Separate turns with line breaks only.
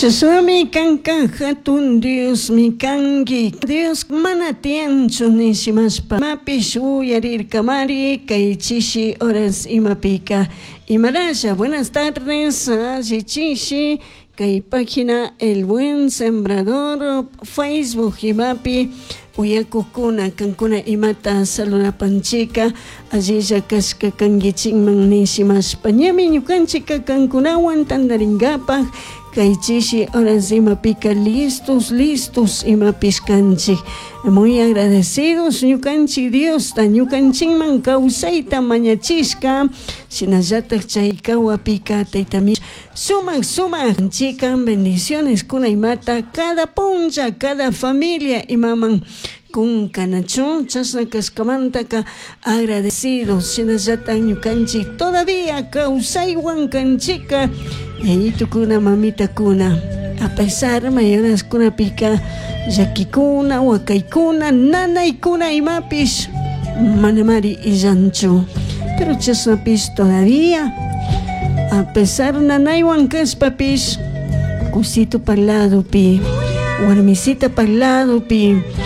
Chashnami kanka hatun Diosmi kanki. Dios mana tiyanchu nishimashpa imapish uyarirkamari kay chishi horas imapika. Imarasha, buenas tardes, alli chishi kay página El Buen Sembrador Facebook imapi uyakukuna kankuna imata saludapanchika allilla kashka kankichikman nishimashpa ñami ñukanchika kankunawan tantarinkapak kay chishi horas imapika listos, listos imapish kanchik. Muy agradecidos ñukanchik Diosta ñukanchikman kawsayta mañachishka shinallatak chay kawapika taytami sumak sumak chikan bendiciones kuna imata cada punlla cada familia imaman kunkanachu chashna kashkamantaka agradecidos shinallatak ñukanchik todavía kawsaywan kanchika yayitukuna mamitakuna a pesar mayoraskunapika llakikuna wakaykuna nanaykuna imapish manamari illanchu pero chashnapish todavía a pesar nanaywan kashpapish kusito parladopi warmisita parladopi.